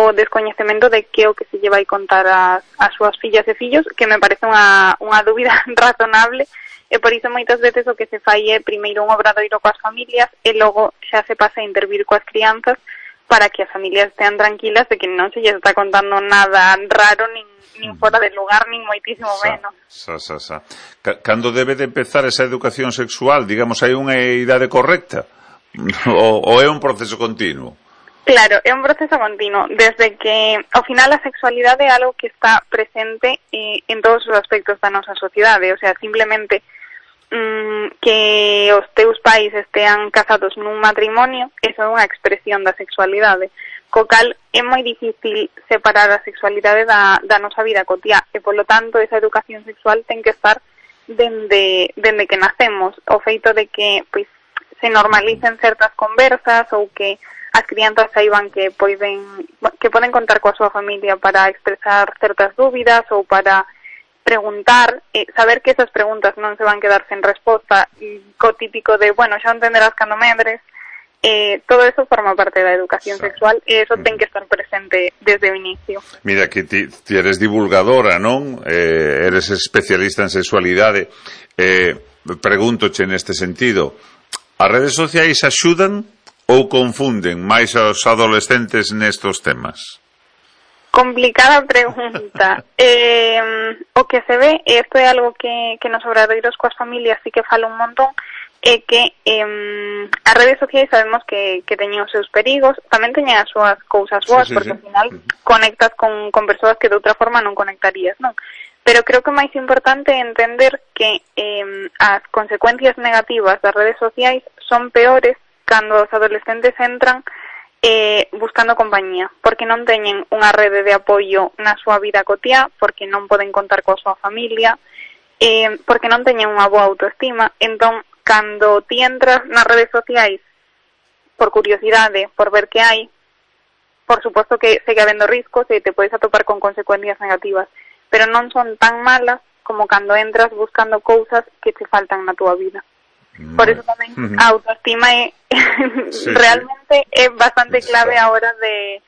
o descoñecemento de que o que se lle vai contar as súas fillas e fillos, que me parece unha dúbida razonable, e por iso moitas veces o que se fai é primeiro un obradoiro coas familias e logo xa se pasa a intervir coas crianzas para que as familias estean tranquilas de que non se lles está contando nada raro, nin fora de lugar, nin moitísimo menos. Cando debe de empezar esa educación sexual? Digamos, hai unha idade correcta? Ou é un proceso continuo? Claro, é un proceso continuo. Desde que, ao final, a sexualidade é algo que está presente en todos os aspectos da nosa sociedade. O sea, simplemente que os teus pais estean casados nun matrimonio, eso é unha expresión da sexualidade. Co cal é moi difícil separar a sexualidade da nosa vida cotiá e, polo tanto, esa educación sexual ten que estar dende que nacemos. O feito de que pois se normalicen certas conversas ou que as crianzas saiban que poden contar coa súa familia para expresar certas dúbidas ou para preguntar, saber que esas preguntas non se van quedar sen resposta, co típico de, bueno, xa entenderás cando medres, todo eso forma parte da educación sexual e eso ten que estar presente desde o inicio. Mira, que ti eres divulgadora, non? Eres especialista en sexualidade. Pregúntoche neste sentido, as redes sociais axudan ou confunden máis aos adolescentes nestos temas? Complicada pregunta. O que se ve, e isto é algo que nos obradoiros coas familias sí que fala un montón, é que as redes sociais sabemos que teñen os seus perigos, tamén teñen as súas cousas boas, porque ao final conectas con persoas que de outra forma non conectarías, non? Pero creo que o máis importante é entender que as consecuencias negativas das redes sociais son peores cando os adolescentes entran buscando compañía, porque non teñen unha rede de apoio na súa vida cotiá, porque non poden contar coa súa familia, porque non teñen unha boa autoestima. Entón, cando ti entras nas redes sociais por curiosidade, por ver que hai, por suposto que segue habendo riscos e te podes atopar con consecuencias negativas, pero non son tan malas como cando entras buscando cousas que te faltan na túa vida. Por eso tamén a autoestima é realmente é bastante clave a hora de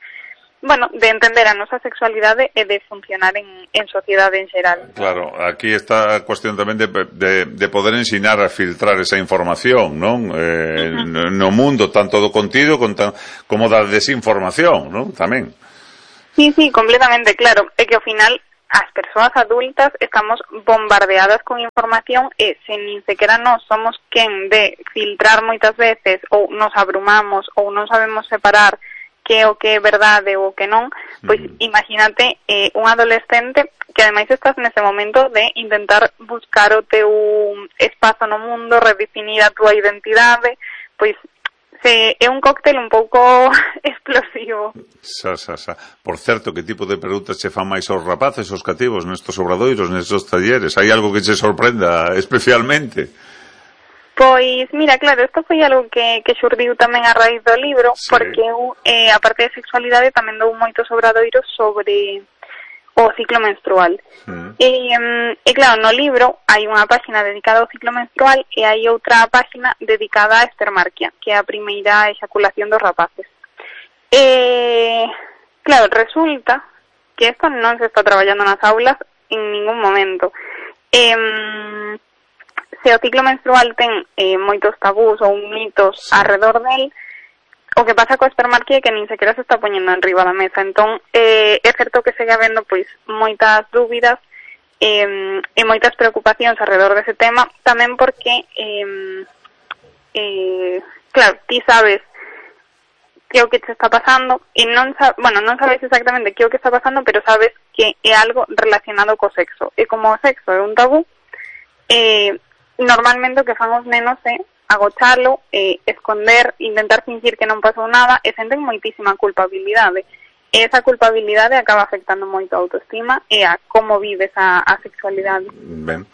entender a nosa sexualidade e de funcionar en sociedade en xeral. Claro, aquí está a cuestión tamén de poder ensinar a filtrar esa información, non? No mundo, tanto do contido como da desinformación, non? Tamén. Sí, completamente, claro. É que ao final as persoas adultas estamos bombardeadas con información e se nin sequera nós somos quen de filtrar moitas veces ou nos abrumamos ou non sabemos separar que o que é verdade ou o que non, pois imagínate un adolescente que ademais estás nese momento de intentar buscar o teu espazo no mundo, redefinir a túa identidade, pois é un cóctel un pouco explosivo. Por certo, que tipo de preguntas che fan máis aos rapaces, aos cativos, nestos obradoiros, nestos talleres? Hai algo que che sorprenda especialmente? Pois, mira, claro, isto foi algo que xurdiu tamén a raíz do libro, porque eu, a parte de sexualidade, tamén dou moitos obradoiros sobre o ciclo menstrual. E claro, no libro hai unha páxina dedicada ao ciclo menstrual e hai outra páxina dedicada á espermarquia, que é a primeira exaculación dos rapaces. Claro, resulta que isto non se está traballando nas aulas en ningún momento. Se o ciclo menstrual ten moitos tabús ou mitos arredor del, o que pasa coa espermarquia é que nin sequera se está poñendo enriba da mesa. Entón, é certo que segue habendo pois moitas dúbidas e moitas preocupacións alrededor dese tema, tamén porque claro, ti sabes que é o que te está pasando e non sabes exactamente que é o que está pasando, pero sabes que é algo relacionado co sexo. E como o sexo é un tabú, normalmente o que fan os nenos é agochalo, esconder, intentar fingir que non pasou nada e senten moitísima culpabilidade. E esa culpabilidade acaba afectando moito a autoestima e a como vives a sexualidade. Ben,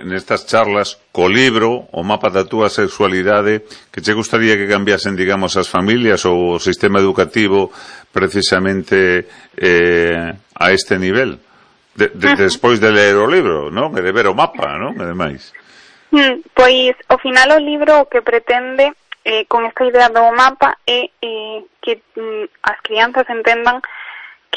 nestas charlas, co libro, o mapa da túa sexualidade, que che gustaría que cambiasen, digamos, as familias ou o sistema educativo precisamente a este nivel? Despois de ler o libro, non? E de ver o mapa, non? E demais. Pois, ao final o libro o que pretende con esta idea do mapa é que as crianzas entendan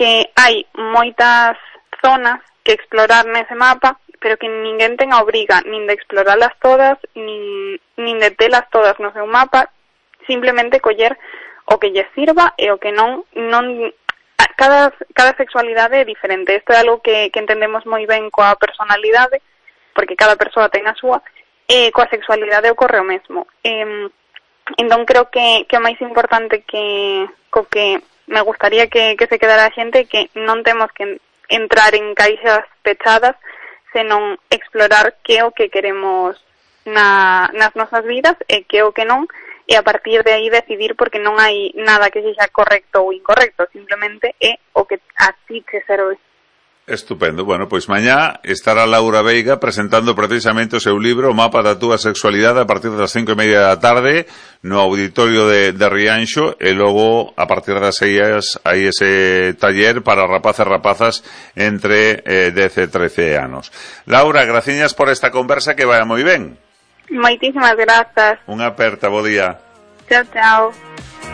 que hai moitas zonas que explorar nese mapa, pero que ninguén ten a obriga nin de exploralas todas, nin de telas todas no seu mapa, simplemente coller o que lle sirva e o que non cada sexualidade é diferente. Isto é algo que entendemos moi ben coa personalidade, porque cada persoa ten a súa, e coa sexualidade ocorre o mesmo. Entón creo que o máis importante que me gustaría que se quedara a xente que non temos que entrar en caixas pechadas, senón explorar que é o que queremos nas nosas vidas e que é o que non, e a partir de aí decidir, porque non hai nada que sexa correcto ou incorrecto, simplemente é o que a ti te serve. Estupendo. Bueno, pois mañá estará Laura Veiga presentando precisamente o seu libro O mapa da túa sexualidade a partir das 5:30 da tarde no auditorio de Rianxo, e logo a partir das 6 hai ese taller para rapaces e rapazas entre 10 e 13 anos. Laura, graciñas por esta conversa, que vaya moi ben. Moitísimas grazas. Unha aperta, bo día. Chao, chao.